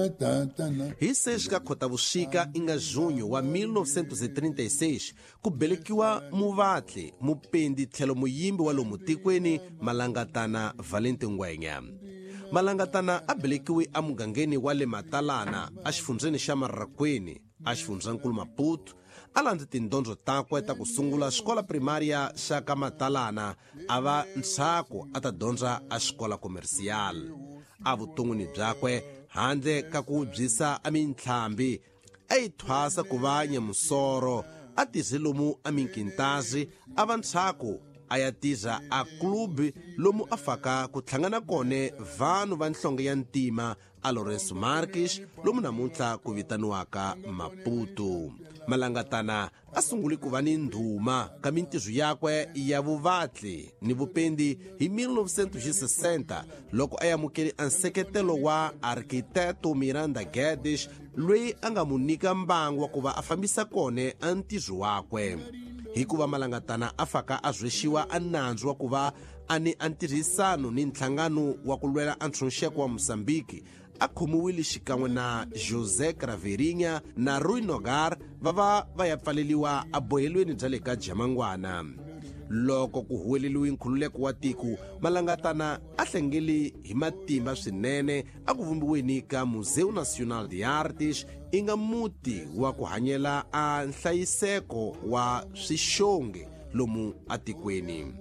Hi 6 ka Khotavuxika inga junho wa 1936 ku belekiwa muvatli, mupendi tlhelo muyimbi wa lomu tikweni Malangatana Valente Ngwenya. Malangatana a belekiwe emugangeni wa le Matalana exifundzheni xa Marraquene exifundzhankulu Maputo. A landze tindyondzo takwe ta ku sungula xikola primaria xa ka Matalana a va ntshaku a ta dyondza a xikola komercial. Evuton'wini byakwe handle ka ku byisa a mintlhambi a yi thwasa ku va nyamusoro a tize lomu a minkintazi a va ntshaku a ya tiza a klubi lomu a faka ku hlangana kone vanhu va nhlonge ya ntima a Lourenço Marques lomu namuntlha ku vitaniwaka Maputo. Malangatana a sungule ku va ni ndhuma ka mintirho yakwe ya vuvatli ni vupendi hi 1960 loko a amukele a nseketelo wa Arquiteto Miranda Guedes loyi a nga mu nyika mbangu wa ku va a fambisa kone a ntirho wakwe. Hikuva Malangatana a faka a rhwexiwa a nandzu wa ku va a ni a ntirhisano ni nhlangano wa ku lwela a ntshunxeko wa Mozambique a khomiwile xikan'we na José Craveirinha na Rui Nogar va va va ya pfaleliwa ebohelweni bya le ka Jamangwana. Loko ku huweleliwe nkhululeko wa tiko, Malangatana a hlengele hi matimba swinene a ku vumbiweni ka Museu Nacional de Artes i nga muti wa ku hanyela a nhlayiseko wa swixongi lomu atikweni.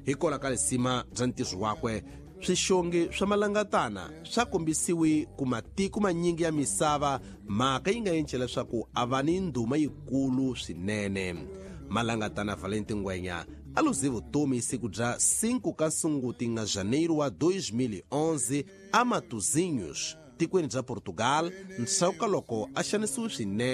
Hikwalaho ka lisima bya ntirho wakwe, swixongi swa Malangatana swa kombisiwe ku matiko manyingi ya misava, mhaka yi nga endla leswaku a va ni ndhuma yikulu swinene. Malangatana Valente Ngwenya a luze vutomi siku bya 5 ka Sunguti nga Janeiro wa 2011 a Matosinhos, tikweni bya Portugal, ndzhaku ka loko a xanisiwe swinene.